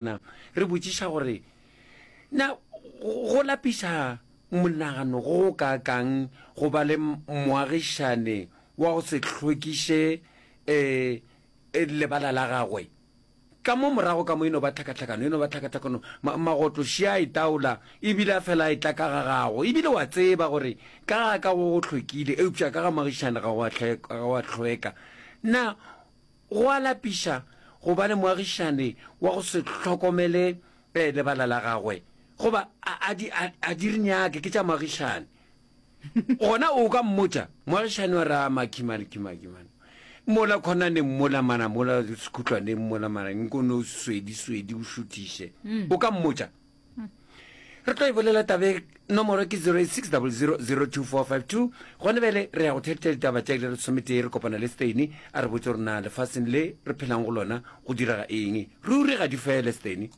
Na re botšiša gore, Na go lapiša monagano go go kaakang go ba le moagišane wa go se hlwekiše lebala la gagwe? Ka mo morago ka mo e no ba tlhakatlhakano, e no ba tlhakatlhakano, ma, magotlo šia a itaola, e bile a fela a etla ka ga gago. E bile wa tseba gore ka ga ka go go hlwekile, eupša ka ga moagišane ga go a hlweka. Na Go a lapiša go ba le moagišane wa go se hlokomele lebala la gagwe, goba a, a di, a, a di re nyake, ke tša moagišane. Gona o ka mmotša, moagišane wa re, a Maki mane, ke Maki mane. Mola khonaneng mola mana, mola sekhutlwaneng mola mana, nko no swedi, swedi, o šuthiše. O ka mmotša? Re tlo e bolela tabe, nomoro ke 0860002452. Gone bjale re ya go theletša ditaba tša iri ya lesometee, re kopana le Steini a re botse gore na lefaseng le re phelang go lona go direga eng. Ruri ga di fele, Steini.